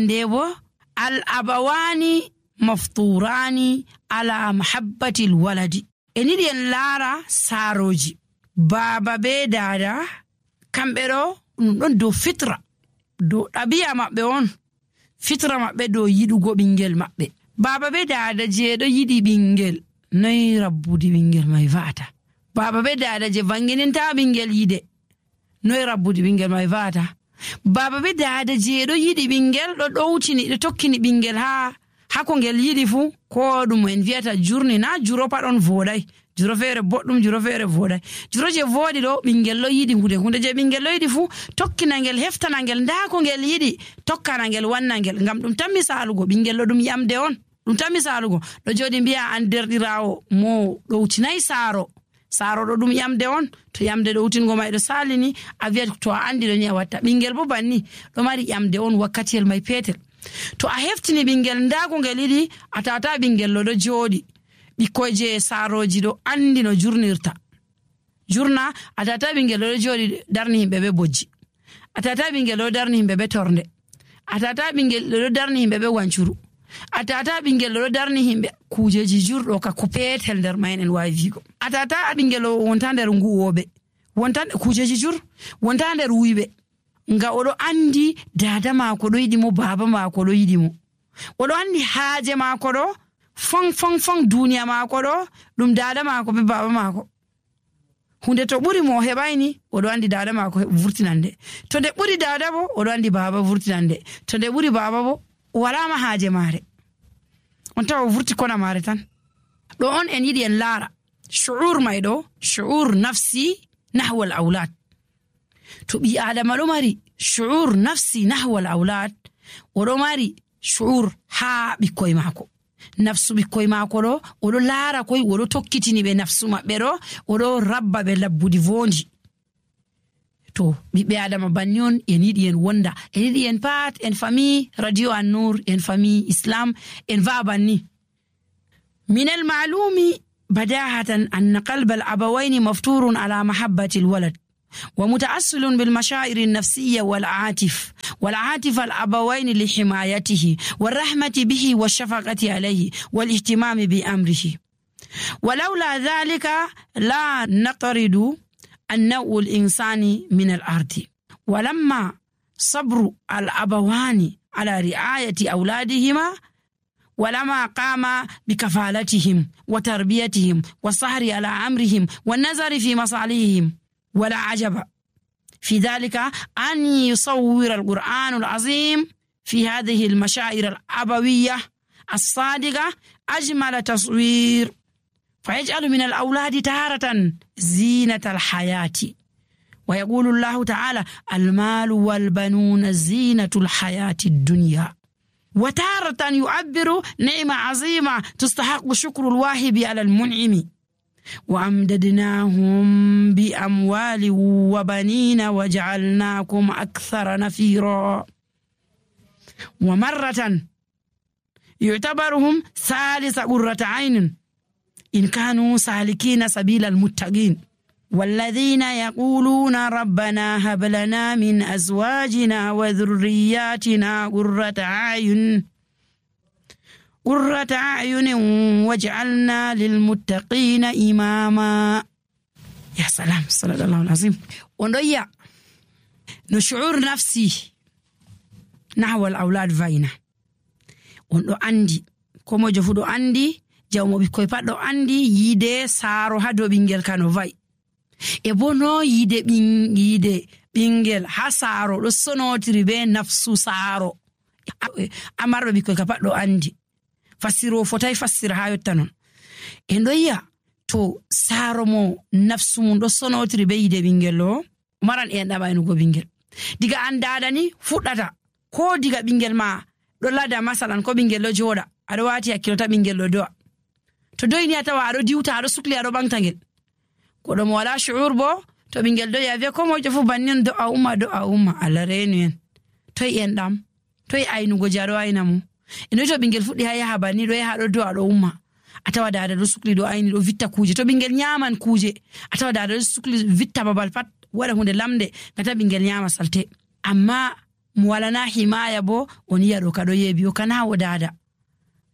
nde bo al abawani mafturani ala mahabbatil waladi. En yiɗi en laara saaroji baaba be dada kamɓe ɗo ɗum ɗon dow fitra, dow ɗabi'a maɓɓe on, fitra maɓɓe dow yiɗugo ɓingel maɓɓe. Baaba be dada je ɗo yiɗi ɓingel noy rabbudi ɓingel mai va'ata. Baaba be dada je vangininta ɓingel yide noy rabbudi ɓingel mai va'ata. Baaba be dada je ɗo yiɗi ɓingel ɗo ɗowtini ɗo tokkini ɓingel ha ko ngel yiɗi fu, ko ɗum en vi'ata jurni, na juro pat on voɗai, juro feere boɗɗum, juro feere voɗai. Juro je voɗi ɗo ɓingel ɗo yiɗi hunde je ɓingel ɗo yiɗi fu tokkina ngel, heftana ngel nda ko ngel yiɗi, tokkana ngel, wanna ngel. Ngam ɗum tan misalugo ɓingel ɗo ɗum yamde on, ɗum tan misalugo ɗo joɗi mbiya an derɗirawo mo ɗowtinayi saaro ɗo ɗum yamde on. To yamde ɗowtingo mai ɗo salini a wiya to a andi ɗo ni a watta. Ɓingel bo banni ɗo mari yamde on wakkatiyel mai petel. To a heftini ɓingel nda ko ngel yiɗi, a tata ɓingel ɗo joɗi. Ɓikkoy je saaroji ɗo andi no jurnirta. Jurna a tata ɓingel ɗo joɗi darni himɓe be bojji, a tata ɓingel ɗo darni himɓe be torde, a tata ɓingel ɗo darni himɓe be wancuru, a tata ɓingel ɗo darni himɓe kujeji jurɗo ka ko petel nder mayen en wawi vigo. A tata ɓingel wonta nder nguwoɓe, wonta kujeji jur, wonta nder wuyɓe. Nga oɗo andi dada maako ɗo yiɗi mo, baaba maako ɗo yiɗi mo, oɗo andi haaje maako ɗo fon duniya maako ɗo ɗum dada maako be baaba maako. Hunde to ɓuri mo heɓayni oɗo andi dada maako vurtinande, to nde ɓuri dada bo oɗo andi baaba vurtinande, to nde ɓuri baaba bo walama haaje maare, on tawa o vurti kona maare tan. Ɗo on en yiɗi en laara shu'ur mai ɗo, shu'ur nafsi nahwal aulad. To ɓi adama ɗo mari shu'ur nafsi nahwal aulad, oɗo mari shu'ur ha ɓikkoy maako. Nafsu ɓikkoy maako ɗo oɗo laara koy, oɗo tokkitini ɓe nafsu maɓɓe ɗo, oɗo rabba ɓe labbudi vondi. To ɓiɓɓe adama banni on en yiɗi en wonda, en yiɗi en pat en fami radio An-Nur, en fami Islam, en va'a banni. Min al-ma'lumi badahatan anna qalba al-abawayni mafturun ala mahabbati al-walad ومتأصل بالمشاعر النفسية والعاطفة الأبوين لحمايته والرحمة به والشفقة عليه والاهتمام بأمره. ولولا ذلك لا نطرد النوع الإنساني من الأرض. ولما صبر الأبوان على رعاية أولادهما ولما قام بكفالتهم وتربيتهم والسهر على أمرهم والنظر في مصالحهم، ولا عجب في ذلك أن يصور القرآن العظيم في هذه المشاعر الأبوية الصادقة أجمل تصوير، فيجعل من الأولاد تارة زينة الحياة. ويقول الله تعالى: المال والبنون زينة الحياة الدنيا. وتارة يعبر نعمة عظيمة تستحق شكر الواهب على المنعم. وأمددناهم بأموال وبنين وجعلناكم أكثر نفيرا. ومرة يعتبرهم ثالث قرة عين إن كانوا سالكين سبيل المتقين. والذين يقولون ربنا هب لنا من أزواجنا وذرياتنا قرة أعين واجعلنا للمتقين إماما. يا سلام، صدق الله العظيم. ونضيع نشعور نفسي نحو الأولاد فاينة. وندو عندي كما جفودو عندي جاومو بيكوي بادو عندي يده سارو هادو بينجل كانو فاي ebono yide bingel ha saro do sonotiri be nafsu saro amardo bikoy ka paddo andi fasiro fotay fasira ha yottanon en doya to saro mo nafsu mun do sonotiri be yide bingel lo maran en dabayno go bingel diga andada ni fuddata ko diga bingel ma do lada masalan ko bingel lo joda ado wati hakkilota bingel lo do to doyni atawa ado diwta ado sukli ado bangtangel ko do mo wala shuur bo to bingel do ya ve ko mo jofu bannin do a umma ala renu en toy en dam toy aynugo jaro aynamu eno to bingel fuddi ha yaha banni do yaha do ado umma atawa dada do sukli do ayni do vitta kuje to bingel nyaman kuje atawa dada do sukli vitta babal pat wala hunde lamde ngata bingel nyama salte amma mo walana himaya bo on yi'a ɗo kaɗo yeebi o kana o dada.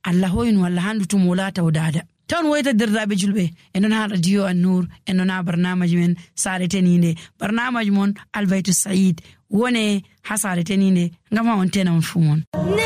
Allah hoynu Allah handu tum o laata o dada. Ton woyta derdaɓe julɓe en ɗon ha radio An-Nur en ɗon ha barnamaji men sare teninde barnamaji mon Albaytu Said wone ha sare teninde ngam ha on tena on fu mon.